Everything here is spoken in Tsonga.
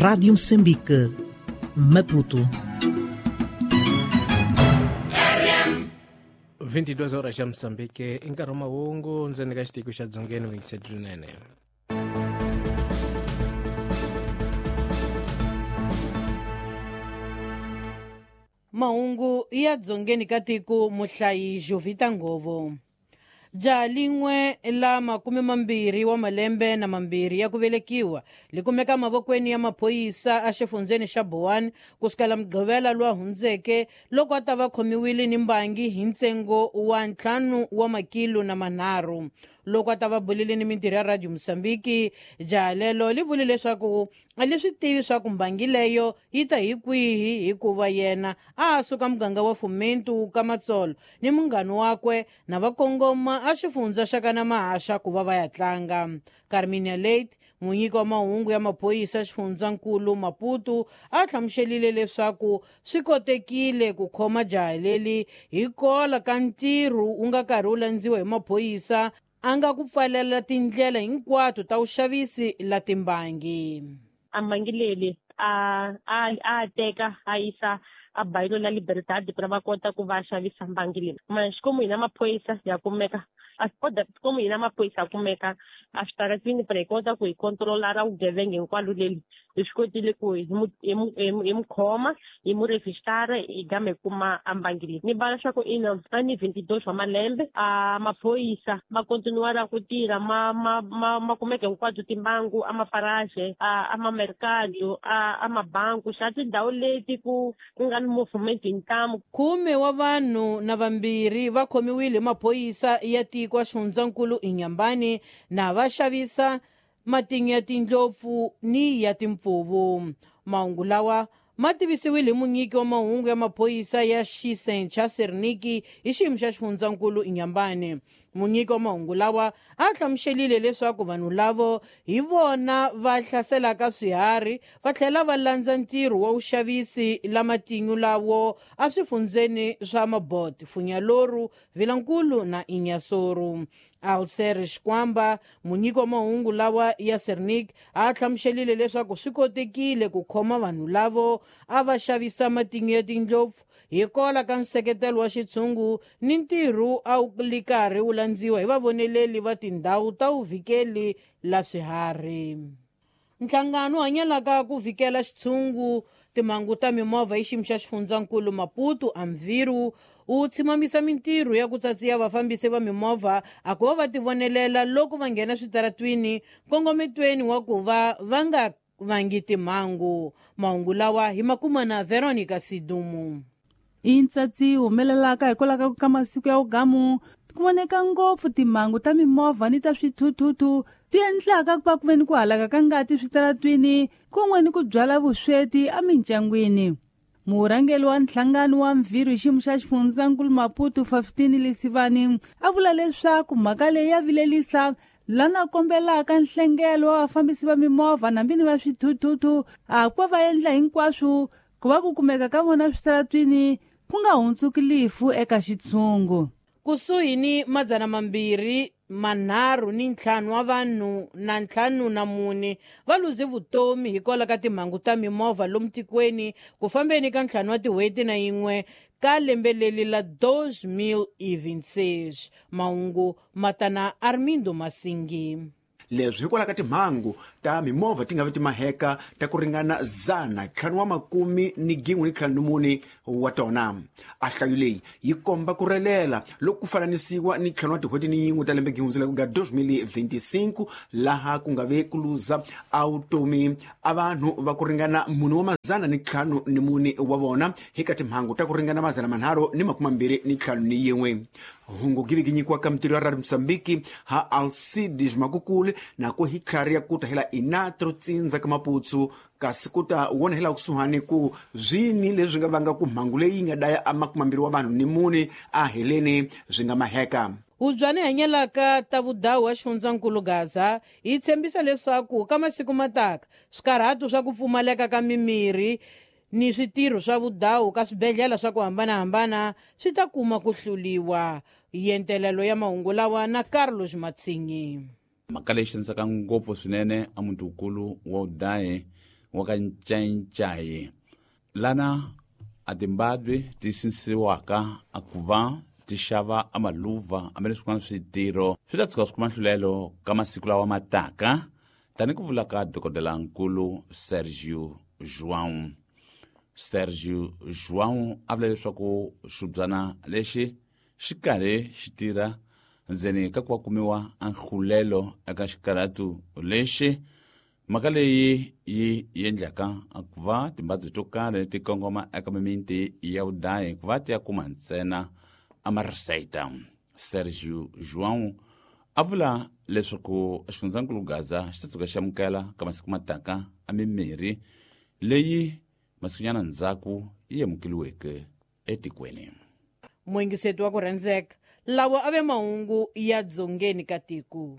Rádio Moçambique, Maputo. 22 horas xa Moçambique i nkarhi wa mahungu ndzeni ka xitiko xa Dzongeni Winsett Rinene. Mahungu ya dzongeni ka tiko muhlayi Jovita Ngovo. Jaha lin'we la 22 wa malembe na mambirhi ya ku velekiwa li kumeka mavokweni ya maphorisa a xifundzeni xa Boane kusukela Mugqivela lowa hundzeke loko a ta va khomiwile ni mbangi hi ntsengo wa 5 wa makilo na manharhu. Loko a ta va bulile ni mintirho ya Radio Moçambique, jaha lelo li vule leswaku a li swi tivi swa ku mbangi leyo yi ta hi kwihi hikuva yena a suka muganga wa Fomento ka Matsolo ni munghana wakwe na va kongoma a xifundza xa kana Mahasha ku va va ya tlanga. Carminia Late, munyiki wa mahungu ya maphorisa xifundzankulu Maputo, a hlamuselile leswaku swi kotekile ku khoma jaha leli hi kola ka ntirho wu nga karhi wu landziwa hi maphorisa a nga ku pfalela tindlela hinkwato ta vuxavisi la timbangi. A mbangi leli a teka a yisa a bayilo la Libertad ku va kota ku va xavisa mbangi leyi. Ma xikomu hina maphorisa ya kumeka a kota komu hina maphorisa ya kumeka a switaratini pra hi kota ku hi controla ra vugevenga hinkwalo leli. Hi swi kotile ku hi mu khoma, hi mu rejistara, hi gama hi kuma a mbangi leyi. Ni vala swa ku ina a ni 22 wa malembe a maphorisa ma continuara ku tirha ma kumeka hinkwato timbangu a maparaje a mamercado a mabanku xa tindhawu leti ku nga ni movement hi ntamu. 10 wa vanhu na vambirhi va khomiwile hi maphorisa ya tiko a xifundzankulu Inhambane na va xavisa matinyo ya tindlopfu ni ya timpfuvu. Mahungu lawa ma tivisiwile hi munyiki wa mahungu ya maphorisa ya Xisencha Serniki hi xiyimo xa xifundzankulu Inhambane. Munyiki wa mahungu lawa a hlamuselile leswaku vanhu lavo hi vona va hlaselaka swiharhi va tlhela va landza ntirho wa vuxavisi la matinyo lawo a swifundzeni swa Mabot, Funyaloru, Vilankulu na Inhassoro. Alcer Xikwamba, munyiki wa mahungu lawa ya Sernik, a hlamuselile leswaku swi kotekile ku khoma vanhu lavo a va xavisa matinyo ya tindlopfu hi kola ka nseketelo wa xitshungu ni ntirho a wu li karhi wu landziwa hi vavoneleli va tindhawu ta vuvikeli la swiharhi. Nhlangano wu hanyelaka ku vikela xitshungu timhangu ta mimovha hi xiyimo xa xifundzankulu Maputo Amviru wu tshimamisa mintirho ya ku tsatsiya vafambisi va mimovha a ku va va tivonelela loko va nghena switaratwini nkongometweni wa ku va va nga vangi timhangu. Mahungu lawa hi makuma na Veronica Sidumu. I ntsatsi humelelaka hikwalaho ka masiku ya ugamu ku voneka ngopfu timhangu ta mimovha ni ta swithuthuthu ti endlaka ku va ku ve ni ku halaka ka ngati switaratwini kun'we ni ku byala vusweti emindyangwini. Murhangeri wa nhlangano wa Mviro hi xiyimo xa xifundzankulu Maputo 15 Lesivani a vula leswaku mhaka leyi ya vilelisa lana kombelaka nhlengelo wa vafambisi va mimovha nambi ni va swithuthuthu a ku va va endla hinkwaswo ku va ku kumeka ka vona switaratwini ku nga hundzuki lifu eka xitshungu. Kusuhi ni 235 wa vanhu na 54 va luze vutomi hikwalaho ka timhangu ta mimovha lomu tikweni ku fambeni ka 5 wa tin'hweti na yin'we ka lembe leli la 2026. Mahungu matana Armindo Masingi. Leswi hikwalaho ka timhangu ta mimovha ti nga vi timaheka ta ku ringana 154 wa tona. A hlayo leyi yi komba ku relela loko ku fananisiwa ni 5 wa tin'hweti ni yin'we ta lembe gihundzela ku nga 2025 laha ku nga ve ku luza a vutomi a vanhu va ku ringana 404 wa vona hi ka timhangu ta ku ringana 321. Hungu givi ginyikiwa ka mintirho ya Radio Moçambique ha Alcides Makukule na ku hi tlhari ya ku ta hela inatro tsindza ka Maputsu kasi ku ta wona hela kusuhani ku zwini leswi nga vanga ku mhangu leyi nga daya a 20 wa vanhu ni mune a heleni swi nga maheka. Hubyani hanyelaka ta vudawu wa xifundzankulu Gaza yi tshembisa leswaku ka masiku mataka swikarhato swa ku pfumaleka ka mimirhi ni switirho swa vudawu ka swibedhlele swa ku hambanahambana swi ta kuma ku hluliwa. Yentelelo ya mahungu lawa na Carlos Matsinyi. Mhaka leyi xanisaka ngopfu swinene a muti wukulu wa Udayi wa ka Ncayicayi lana a timbabwe ti sinsiwaka a ku va ti xava a maluva ambe leswi swin'wana switirho swi ta tshuka swi kuma nhlulelo ka masiku lawa ma taka, tani ku vula ka dokodelankulu Sergio João. Sergio João a vula leswaku xibyana lexi xi karhi xi tirha ndzeni ka ku va kumiwa a nhlulelo eka xikarhatu lexi. Mhaka leyi yi endlaka ku va timbabye to karhi ti kongoma eka mimiti ya vudayi ku va ti ya kuma ntsena amarisayita. Sergio João a vula leswaku xifundzankulu Gaza xi ta tshuka xi amukela ka masiku mataka a mimirhi leyi masikunyana ndzhaku yi amukeliweke etikweni. Muyingiseti wa ku rhandzeka, lawa a ve mahungu ya dzongeni ka tiko.